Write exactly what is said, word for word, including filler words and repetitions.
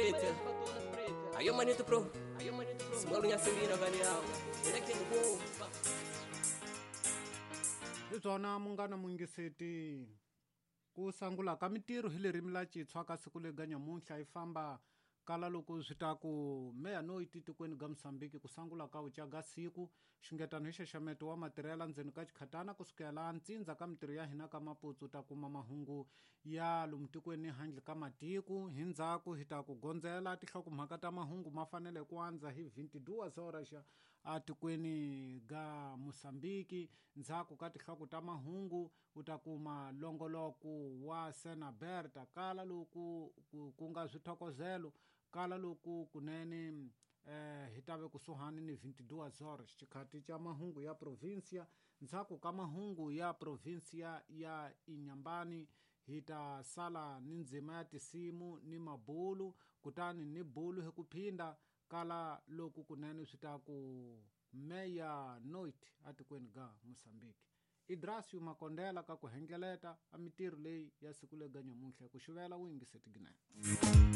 preta. Aí o manito pro, smalunya sirina valiao. Hi byona munghana mungiseti ku sangula ka mintirho hi ririmi la Xitsonga ka siku lega nyamuntlha yi famba kala loko swi ta ku meya no tikweni ga Mozambique ku sangula ka uca ga siku xungetano hi xaxameto wa matirhela ndzeni ka xikhatana kusukela ntsindza ka mintirho ya hina ka Maputo ta kuma mahungu ya lomu tikweni handle ka matiko hi ndzhaku hi ta ku gondzela tinhlokomhaka ta mahungu ma fanele ku andza hi twenty-two horas xa atikweni ga Mozambique ndzhaku ka tinhloko ta mahungu u ta kuma longoloko wa Senaberta kala loku ku nga swithokozelo kala loku kunene eh hi tave kusuhani ni twenty-two horas xikhati xa mahungu ya provincia ndzhaku ka mahungu ya provincia ya Inhambane hi ta sala ni ndzima ya tisimu ni mabulu kutani ni bulu hi ku phinda kala loku kunene swi ta ku meya noit atikweni ga Mozambique Idrasio Makondela ka ku hengeleta a mintirho leyi ya siku lega nyamuntlha ku xuvela u yingiseti ginene.